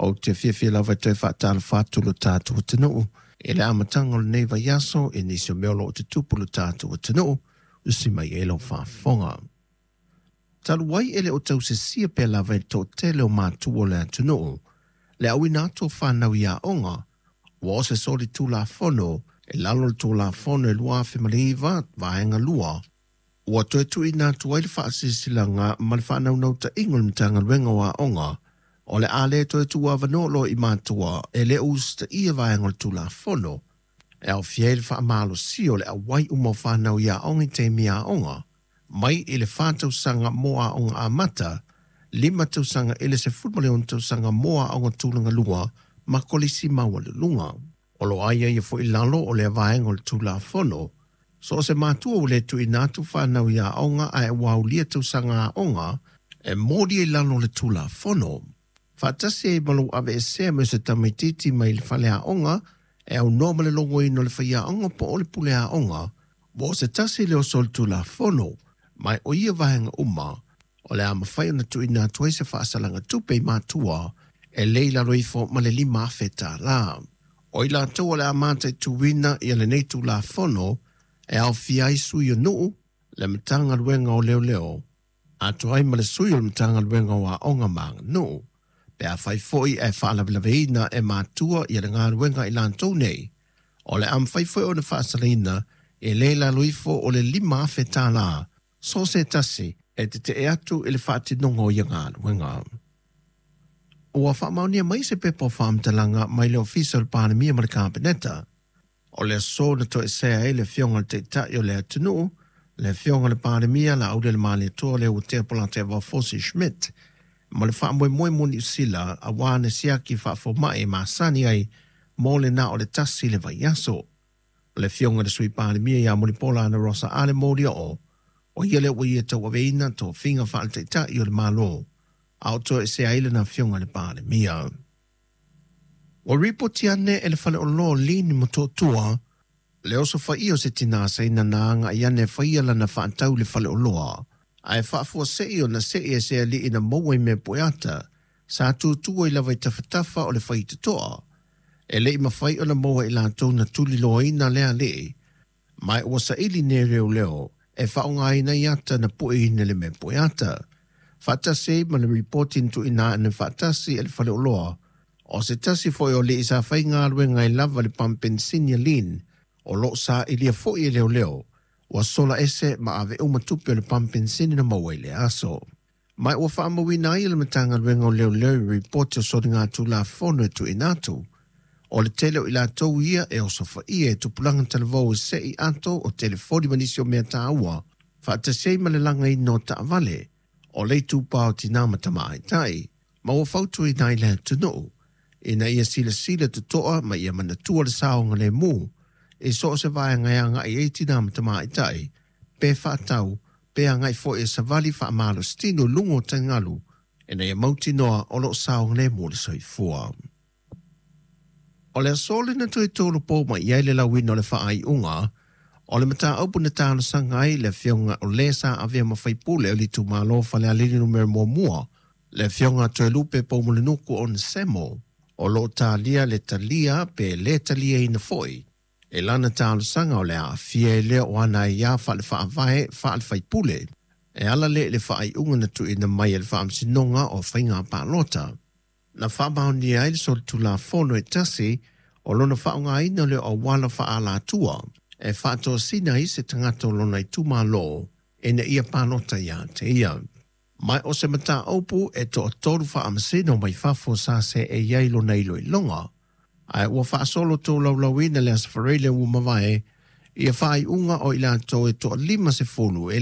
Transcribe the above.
Ou te fiafia lava e toe faatalofa atu lo tatou atunuu i le amataga o lenei vaiaso i nisi o mea o lo o tutupu i lo tatou atunuu, usi mai ai lau faafofoga. Talu ai e le o tausisia pea lava e le toatele o matua o le atunuu le auina atu o fanau i aoga, ua o se solitulafono i lalo o le Tulafono e 2009 Vaega 2, ua toe tuuina atu ai le faasilasilaga ma le faanaunautaiga o le Matagaluega o Aoga o le a le toe tuuavanoa loa i matua e le o usitaia vaega o le Tulafono e aofia ai le faamalosia o le auai uma o fanau i aoga i taimi aoga, mai i le 4 tausaga mo aoga amata, 5 tausaga i le 16 tausaga mo aoga tulaga lua ma kolisi maualuluga. O lo o aiaia foi i lalo o lea vaega o le Tulafono, so o se matua ua le tuuina atu fanau i aoga ae ua aulia tausaga aoga e molia i lalo o le Tulafono, faatasi ai ma lou aveesea mai o se tamaitiiti mai le faleaoga e aunoa ma le logoina o le faiaoga po o le pule aoga, ua o se tasi lea o solitulafono, ma o ia vaega uma o le a mafai ona tuuina atu ai se faasalaga tupe i matua e le i lalo ifo ma le $5,000. O i latou o le a mataituina ia lenei Tulafono e aofia ai sui o nuu, le Matagaluega o Leoleo, atoa ai ma le sui o le Matagaluega o Aoga ma Aganuu. Pe afai foi ae faalavelaveina e matua ia le galuega i latou nei, o le a mafai foi ona faasalaina e le i lalo ifo o le $5,000 so o se tasi e tetee atu i le faatinoga o ia galuega. Ua faamaonia mai se pepa o faamatalaga mai le Ofisa o le Palemia ma le Kapeneta, o le aso na toesea ai le Afioga i le Taitai o le atunuu, le Afioga i le Palemia Laaulialemalietoa Leuatea Polataivao Fosi Schmidt, ma le faamoemoe mo Niu Sila aua ana siaki faafomai e masani ai mo le na o le tasi le vaiaso. O le Afioga i le Sui Palemia ia Mulipola Anarosa Ale Molioo, o ia lea ua ia tauaveina tofiga faale-Taitai o le Malo, a o toesea ai lana Afioga i le Palemia. Ua ripoti ane e le faleoloa o Lin i Motootua le osofaia o se tinā Saina na agai ane e faia lana faatau i le faleoloa, ae faafuasei ona sei e se alii na maua i mea pueata sa tutu ai lava i tafatafa o le faitotoa. E le i mafai ona maua e i latou na tuliloaina lea alii, ma ua saili nei leoleo e faaaogaina ai ata na pueina i le mea pueata. Faatasi ai ma le ripoti na tuuina ane faatasi e le faleoloa, o se tasi foi o alii sa faigaluega ai lava i le pamu penisini a Lin, o lo o sailia foi e leoleo, ua sola ese ma ave uma tupe o le pamu penisini na maua i lea aso. Ma ua faamauina ai e le Matagaluega o Leoleo i ripoti o soligatulafono e tuuina atu, o le tele o i latou ia e osofaia e tupulaga talavou e sei ato o telefoni ma nisi o mea taua, faatasi ai ma le lagaina o taavale, o le itupa o tinā ma tamaitai, ma ua fautuaina ai le atunuu ina ia silasila totoa ma ia manatua le saogalemu i so o se vaega e agai ai tinā ma tamaitai, pe faatau, pe agai foi e savali faamalositino i luga o taligalu, ina ia mautinoa o lo o saogalemu le soifua. O le aso lea na toe tolopo mai ai le lauina o le faaiuga o le mataupu na talosaga ai le afioga o le sa avea ma faipule o le itumalo Falealili Numera 1, le afioga Toelupe Poumulinuku Onesemo, o lo o talia le talia pe le taliaina foi e lana talosaga o le aafia ai lea o ana aiā faale-faavae faale-faipule e ala lea i le faaiuga na tuuina mai e le Faamasinoga o Faiga Palota. Na faamaonia ai le solitulafono e tasi o lona faaaogaina lea o auala faaalatua e faatosina ai se tagata o lona itumalo ina ia palota ia te ia. Ma o se mataupu e toatolu faamasino mai fafo sa seei ai lona iloiloga, ae ua faasolo tolaulauina le Aso Faraile ua mavae ia faaiuga o i latou e toa 50 e